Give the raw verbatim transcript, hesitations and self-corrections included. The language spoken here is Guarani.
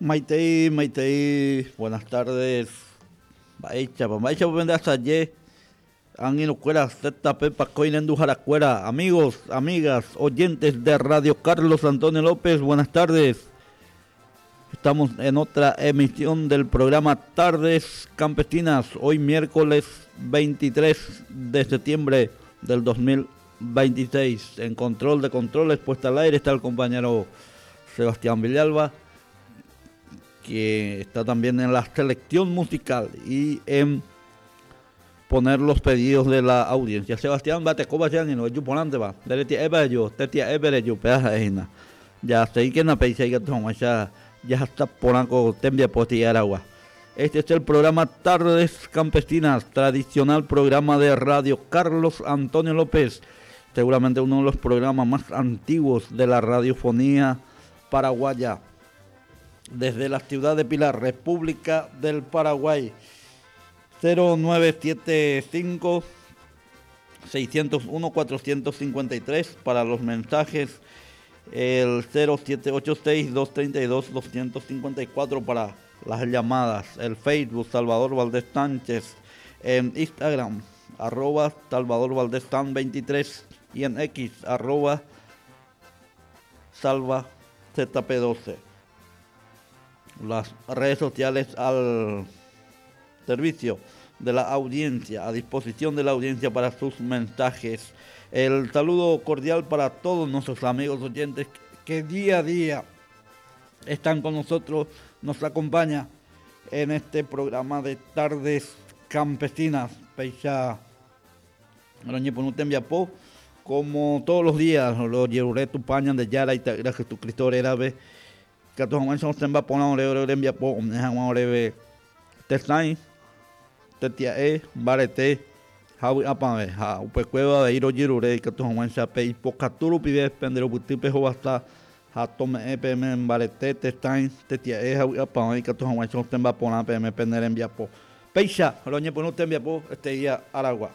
Maitei, Maitei, buenas tardes. Mba'éichapa, mba'éichapa pendeasaje, angirũkuéra, Z P Pakói renduharakuéra, amigos, amigas, oyentes de Radio Carlos Antonio López, buenas tardes. Estamos en otra emisión del programa Tardes Campesinas, hoy miércoles veintitrés de septiembre del dos mil veintiséis. En control de controles, puesta al aire, está el compañero Sebastián Villalba, que está también en la selección musical y en poner los pedidos de la audiencia. Sebastián, bate coba ya ni no yo ponante va. Dele yo, tetia ebere yo peaja ejina. Ya sei que na peisa que toma ya ya está poranco tembia poti aragua. Este es el programa Tardes Campesinas, tradicional programa de Radio Carlos Antonio López, seguramente uno de los programas más antiguos de la radiofonía paraguaya. Desde la ciudad de Pilar, República del Paraguay. cero nueve siete cinco seiscientos uno cuatrocientos cincuenta y tres para los mensajes, el cero siete ocho seis doscientos treinta y dos doscientos cincuenta y cuatro para las llamadas, el Facebook Salvador Valdés Sánchez, en Instagram arroba Salvador Valdés San veintitrés y en X arroba Salva Z P doce. Las redes sociales al servicio de la audiencia, a disposición de la audiencia para sus mensajes. El saludo cordial para todos nuestros amigos oyentes que día a día están con nosotros, nos acompaña en este programa de Tardes Campesinas. Péicha roñepyrũ como todos los días, rojerure Tupã Ñandejára ita'ýra Jesucristo rérape, katu hag̃uáicha osẽmba porã ore ore rembiapo ome'ẽ hag̃ua oréve tesãi, tetia'e, mbarete ha vy'apavẽ ha upekuévo avei rojerure ikatu hag̃uáicha pe ipokatu rupive penderupyty pehovasa ha tome'ẽ peẽme mbarete, tesãi, tetia'e ha vy'apavẽ ikatu hag̃uáicha osẽmba porã peẽme pene rembiapo. Péicha roñepyrũ tembiapo este día aragua.